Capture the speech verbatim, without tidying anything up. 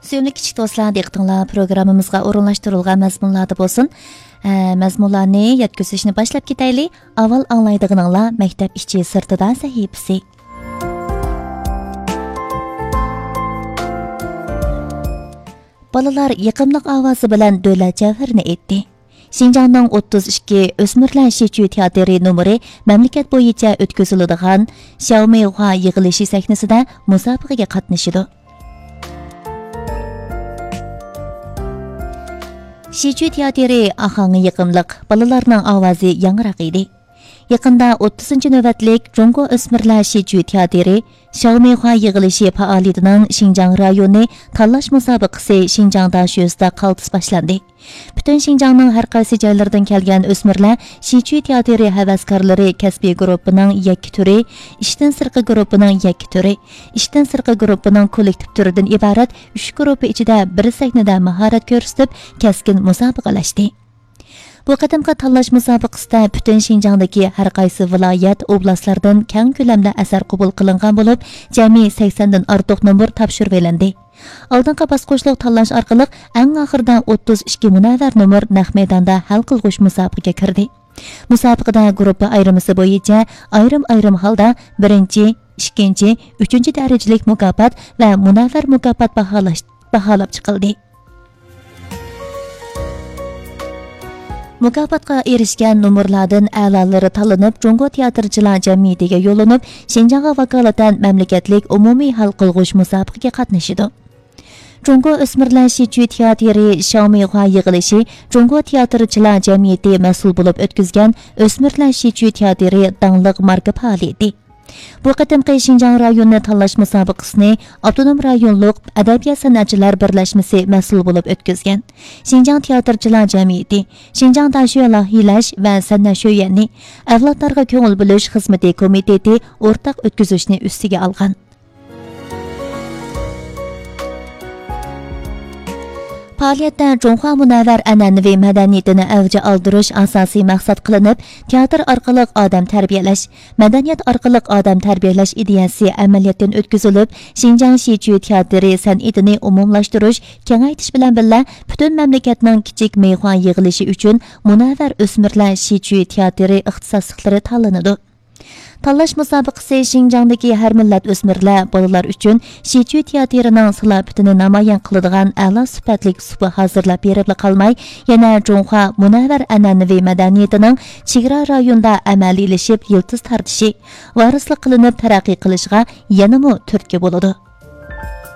سۆيۈملۈك كىچىك دوستلار، دىققىتىڭلار پروگراممىمىزغا ئورۇنلاشتۇرۇلغان مەزمۇنلاردا بولسۇن. ئە، مەزمۇنلارنى يەتكۈزۈشنى باشلاپ كېتەيلى. ئاۋۋال ئاڭلايدىغىنىڭلار مەكتەپ ئىچى سىرتىدا سەھىپىسى. بالىلار يېقىملىق ئاۋازى بىلەن دۆلەت جەۋھىرىنى ئېيتتى. شىنجاڭنىڭ ئوتتۇز ئىككى ئۆسمۈرلەر شىچۈي تىياتىرى نومۇرى مەملىكەت بويىچە ئۆتكۈزۈلىدىغان شياۋمىخۇا يىغىلىشى سەھنىسىدە مۇسابىقىگە قاتنىشىدۇ. شىچۈي تىياتىرى ئاھاڭى يېقىملىق، بالىلارنىڭ ئاۋازى ياڭراق ئىدى. يېقىندا ئوتتۇزىنچى نۆۋەتلىك جۇڭگو ئۆسمۈرلەر شىچۈي تىياتىرى شياۋمىخۇا يىغىلىشى پائالىيىتىنىڭ شىنجاڭ رايونى تاللاش مۇسابىقىسى شىنجاڭ داشۆسىدە قالتىس باشلاندى. پۈتۈن شىنجاڭنىڭ ھەر قايسى جايلىرىدىن كەلگەن ئۆسمۈرلەر شىچۈي تىياتىرى ھەۋەسكارلىرى كەسپىي گۇرۇپپىنىڭ يەككە تۈرى، ئىشتىن سىرتقى گۇرۇپپىنىڭ يەككە تۈرى، ئىشتىن سىرتقى گۇرۇپپىنىڭ كوللېكتىپ تۈرىدىن ئىبارەت ئۈچ گۇرۇپپا ئىچىدە بىر سەھنىدە ماھارەت كۆرسىتىپ، كەسكىن مۇسابىقىلەشتى. بۇ قېتىمقى تاللاش مۇسابىقىسىدە پۈتۈن شىنجاڭدىكى ھەر قايسى ۋىلايەت، ئوبلاستلاردىن كەڭ كۆلەمدە ئەسەر قوبۇل قىلىنغان بولۇپ، جەمئىي سەكسەندىن ئارتۇق نومۇر تاپشۇرۇۋېلىندى. ئالدىنقى باسقۇچلۇق تاللاش ئارقىلىق ئەڭ ئاخىرىدا ئوتتۇز ئىككى مۇنەۋۋەر نومۇر نەق مەيداندا ھەل قىلغۇچ مۇسابىقىگە كىردى. مۇسابىقىدە گۇرۇپپا ئايرىمىسى بويىچە ئايرىم-ئايرىم ھالدا بىرىنچى، ئىككىنچى، ئۈچىنچى دەرىجىلىك مۇكاپات ۋە مۇنەۋۋەر مۇكاپات باھالاش، باھالاپ چىقىلدى. مۇكاپاتقا ئېرىشكەن نومۇرلاردىن ئەلالىرى تاللىنىپ، جۇڭگو تىياتىرچىلار جەمئىيىتىگە يوللىنىپ، شىنجاڭغا ۋاكالىتەن مەملىكەتلىك ئومۇمىي ھەل قىلغۇچ مۇسابىقىگە قاتنىشىدۇ. جۇڭگو ئۆسمۈرلەر شىچۈي تىياتىرى شياۋمىخۇا يىغىلىشى جۇڭگو تىياتىرچىلار جەمئىيىتى مەسئۇل بولۇپ ئۆتكۈزگەن ئۆسمۈرلەر شىچۈي تىياتىرى داڭلىق ماركا پائالىيىتى. بۇ قېتىمقى شىنجاڭ رايونىنى تاللاش مۇسابىقىسىنى ئاپتونوم رايونلۇق ئەدەبىيات سەنئەتچىلەر بىرلەشمىسى مەسئۇل بولۇپ ئۆتكۈزگەن. شىنجاڭ تىياتىرچىلار جەمئىيىتى، شىنجاڭ داشۆ لايىھىلەش ۋە سەنئەت شۆيۈەنى، ئەۋلادلارغا كۆڭۈل بۆلۈش خىزمىتى كومىتېتى ئورتاق ئۆتكۈزۈشنى ئۈستىگە ئالغان. پائالىيەتتە جۇڭخۇا مۇنەۋۋەر ئەنئەنىۋى مەدەنىيىتىنى ئەۋج ئالدۇرۇش ئاساسىي مەقسەت قىلىنىپ، تىياتىر ئارقىلىق ئادەم تەربىيەلەش، مەدەنىيەت ئارقىلىق ئادەم تەربىيەلەش ئىدىيەسى ئەمەلىيەتتىن ئۆتكۈزۈلۈپ، شىنجاڭ شىچۈي تىياتىرى سەنئىتىنى ئومۇملاشتۇرۇش، كېڭەيتىش بىلەن بىللە، پۈتۈن مەملىكەتنىڭ كىچىك مېيخۇا يىغىلىشى ئۈچۈن مۇنەۋۋەر ئۆسمۈرلەر شىچۈي تىياتىرى ئىختىساسلىقلىرى تاللىنىدۇ. تاللاش مۇسابىقىسى شىنجاڭدىكى ھەر مىللەت ئۆسمۈرلەر، بالىلار ئۈچۈن شىچۈي تىياتىرىنىڭ سالاپىتىنى نامايان قىلىدىغان ئەلا سۈپەتلىك سۇپا ھازىرلاپ بېرىپلا قالماي، يەنە جۇڭخۇا مۇنەۋۋەر ئەنئەنىۋى مەدەنىيىتىنىڭ چېگرا رايوندا ئەمەلىيلىشىپ يىلتىز تارتىشى، ۋارىسلىق قىلىنىپ تەرەققىي قىلىشىغا يەنىمۇ تۈرتكە بولىدۇ.